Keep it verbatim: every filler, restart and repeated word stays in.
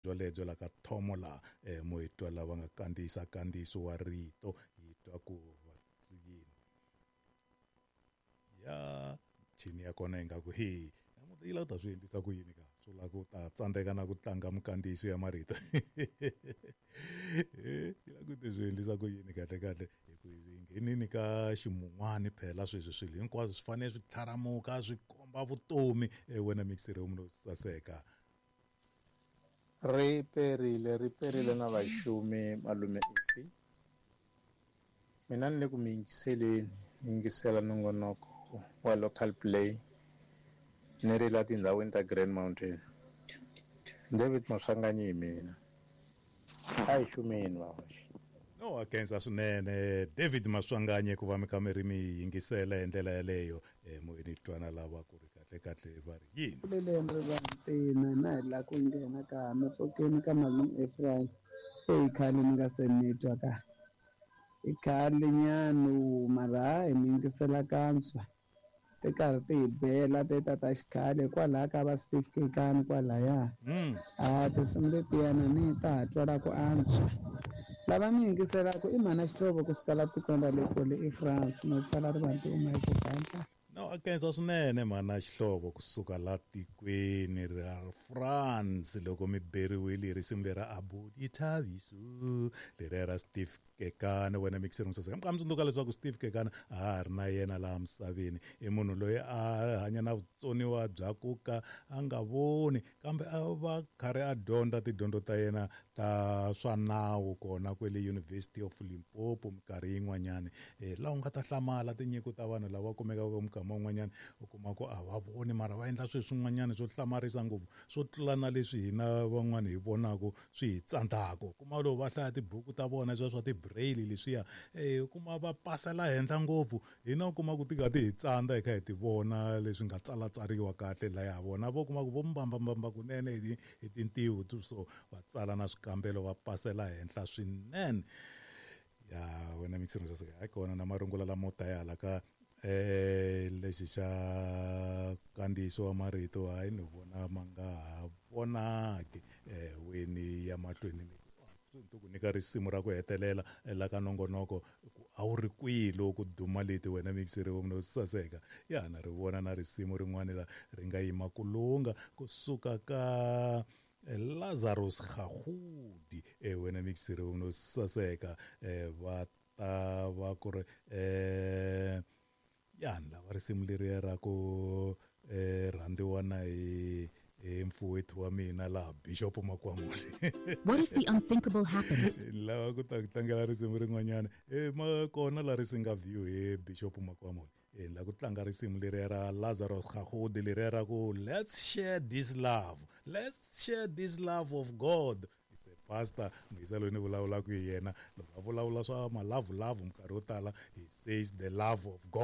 Byolebyo la ka thomo laha um mo hi twa lava nga kandziyisa kandziyiso wa rito, hi twa ku va yini ya michini ya kona ingaku he namuntlha yi lava ku ta swi endlisa ku yini ka swo lava ku ta tsandzeka na ku tlanga mikandziyiso ya marito. Yi lava ku ti swi endlisa ku yini kahle kahle, hi ku hi nghenini ka ximun'wani phela sweswi swilo hinkwaswo swi fanele swi tlharamuka swi komba vutomi. Wena mixere munhu saseka. Ri perile ri perile na vaxumi malume ifi. Mina ni le ku mi yingiseleni, ni yingisela nongonoko wa local play ni ri la tindhawini ta Grand Mountain. David Maswanganyi hi mina. A hi xumeni vahoxi. No a khensa swinene David Maswanganyi ku va mi kha mi ri mi yingisela hi ndlela yeleyo. Moyeni twana lava ku ri kahle kahle va ri yini. Leleni ri va ntina na hi la ku nghena ka mi pfukeni ka malume Ephraim. Eyi khale ni nga se ni twa ka. I khale nyana mara hi mi yingisela kantswa. Ti karhi ti hi bela ti ta ta xikhale kwalaya ka va Steve Kekana kwalaya. A tinsimu letiyana ni ta ha twala ku antswa. Lava ni yingiselaka i mhana Xihlovo kusuka la tikweni ra le kule eFrance no pfala rivanti uma hi ku gandla. No a khensa swinene mhana Xihlovo kusuka la tikweni ra France loko mi beriwile hi risimu lera Abudi Thabiso leriya ra Steve Kekana. Wena mixer musaseka mi kha mi tsundzuka leswaku Steve Kekana a ha ri na yena laha misaveni, i munhu loyi a hanya na vutsoniwa bya ku ka a nga voni kambe a va karhi a dyondza tidyondzo ta yena ta swa nawu kona kwele University of Limpopo minkarhi yin'wanyani. Laha u nga ta hlamala tinyiko ta vanhu lava kumekaka mikama wun'wanyana u kuma ku a va voni mara va endla swilo swin'wanyana swo hlamarisa ngopfu swo tlula na leswi hina van'wani hi vonaka swi hi tsandzaka. U kuma loko va hlaya tibuku ta vona sweswo swa ti-braille leswiya, u kuma va pasela henhla ngopfu, hina u kuma ku ti kha ti hi tsandza hi kha hi ti vona leswi nga tsalatsariwa kahle laya vona vo kuma ku vo mbambambamba kunene hi hi tintiho so va tsala na swikambelo va pasela henhla swinene. Ya wena mixer saseka hayi kona na marungula lamo ta ya hala ka eh lexi xa kandziyiso wa marito hayi ni vona ma nga ha vonaki eh weni ya mahlweni ni ku nyika risimu ra ku hetelela la ka nongonoko ku a wu ri kwihi loko ku duma leti wena mixer wa munhu saseka. Ya na ri vona na risimu rin'wana la ri nga yima ku lunga kusuka ka Lazarus Gagudi eh wena mixer wa munhu saseka va ta va ku ri eh ya lava risimu leriya ra ku rhandziwa na hi hi mfuwethu wa mina laha Bishop Makwamule. What if the unthinkable happened? Lava ku ta ku tlangela risimu rin'wanyana e ma kona la ri singa view hi Bishop Makwamule. E la ku tlanga risimu leriya ra Lazarus Gagudi leriya ra ku let's share this love, let's share this love of God. Se pastor muyisa loyi ni vulavulaka hi yena loko a vulavula swa malavulavu minkarhi yo tala he says the love of God.